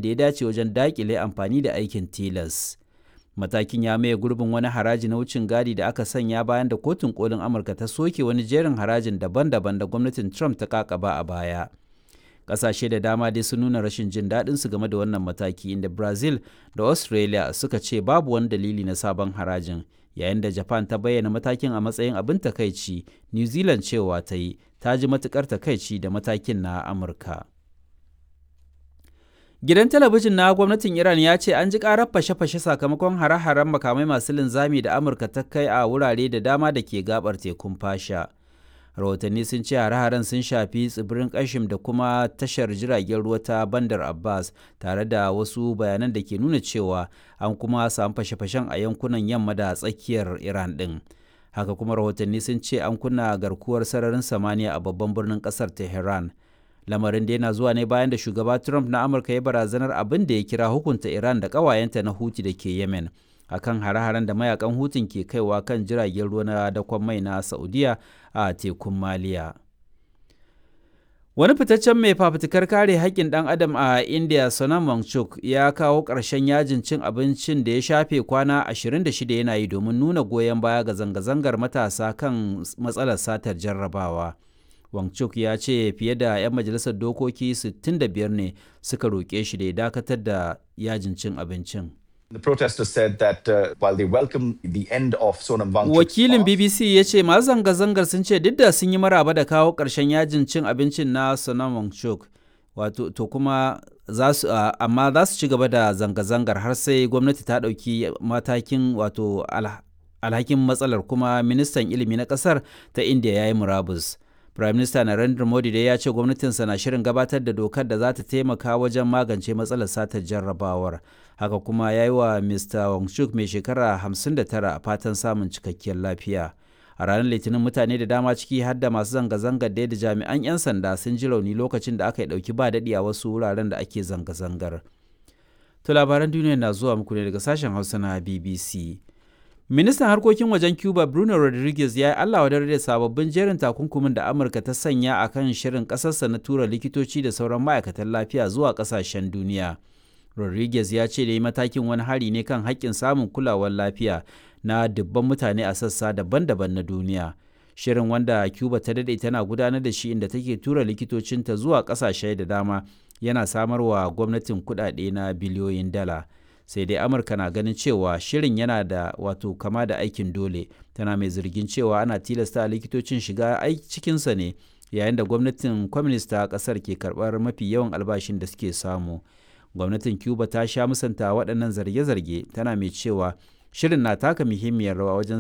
Da ya dace wajen daƙile amfani da aikin tilas. Matakin ya maye gurbin wani haraji na wucin gadi da aka sanya bayan da Kotun Kolin Amurka ta soke wani jerin harajin daban-daban da gwamnatin Trump ta kakaba a baya. Ƙasashe da dama dai sun nuna rashin jin daɗinsu game da wannan mataki, inda Brazil da Australia suka ce babu wani dalili na sabon harajin, yayin da Japan ta bayyana matakin a matsayin abin takaici. New Zealand cewa ta yi ta ji matukar takaici da matakin na Amurka. Gidan talabijin na gwamnatin Iran ya ce an ji karar fashe-fashe sakamakon hare-haren makamai masu linzami da Amurka ta kai a wurare da dama da ke gabar tekun Fasha. Rahotanni sun ce hare-haren sun shafi tsibirin Kashim da kuma tashar jiragen ruwa ta Bandar Abbas, tare da wasu bayanan da ke nuna cewa an kuma samu fashe-fashen a yankunan yamma da tsakiyar Iran ɗin. Haka kuma rahotanni sun ce an kunna garkuwar sararin samaniya a babban birnin ƙasar Tehran. Lamarin da yana zuwa ne bayan da shugaba Trump na Amurka ya barazanar abin da ya kira hukunta Iran da ƙawayenta na Huti da ke Yemen akan hare-haren da mayakan Hutun ke kaiwa kan jiragen ruwa na dakon mai na Saudiya a tekun Maliya. Wani fitaccen mai fafutukar kare haƙƙin ɗan adam a India, Sonam Wangchuk, ya kawo ƙarshen yajin cin abincin da ya shafe kwana 26 yana yi domin nuna goyon baya ga zanga-zangar matasa kan matsalar satar jarrabawa. Wangchuk ya ce fiye da 'yan majalisar dokoki 65 ne suka roƙe shi da ya dakatar da yajin cin abincin. The protesters said that while they welcome the end of Sonam Wangchuk's Wakilin BBC ya ce masu zanga-zangar sun ce duk da sun yi maraba da kawo ƙarshen yajin cin abincin na Sonam Wangchuk, wato to kuma za su amma za su ci gaba da zanga-zangar har sai gwamnati ta ɗauki matakin wato alhakin matsalar, kuma ministan ilimi na ƙasar ta India ya yi murabus. Prime Minister Narendra Modi dai ya ce gwamnatinsa na shirin gabatar da dokar da za ta taimaka wajen magance matsalar satar jarrabawar. Haka kuma ya yi wa Mr. Wangchuk mai shekara 59 fatan samun cikakkiyar lafiya. A ranar Litinin mutane da dama, ciki har da masu zanga-zangar da jami'an 'yan sanda, sun ji rauni lokacin da aka yi ɗauki ba daɗi a wasu wuraren da ake zanga-zangar. To, labaran duniya na zuwa muku ne daga sashen Hausa na BBC. Ministan harkokin wajen Cuba Bruno Rodriguez ya yi Allah wadar da sababbin jerin takunkumin da Amurka ta sanya a kan shirin ƙasarsa na tura likitoci da sauran ma'aikatan lafiya zuwa ƙasashen duniya. Rodriguez ya ce da yi matakin wani hari ne kan haƙƙin samun kulawar lafiya na dubban mutane a sassa daban-daban na duniya. Shirin, wanda Cuba ta daɗe tana gudanar da shi inda take tura likitocinta zuwa ƙasashe da dama, yana samarwa gwamnatin kuɗaɗe na biliyoyin dala. Sai dai Amurka na ganin cewa shirin yana da wato kama da aikin dole, tana mai zargin cewa ana tilasta likitocin shiga cikinsa ne yayin da gwamnatin kwaminista ta kasar ke karbar mafi yawan albashin da suke samu. Gwamnatin Cuba ta sha musanta waɗannan zarge-zarge, tana mai cewa shirin na taka muhimmiyar rawa wajen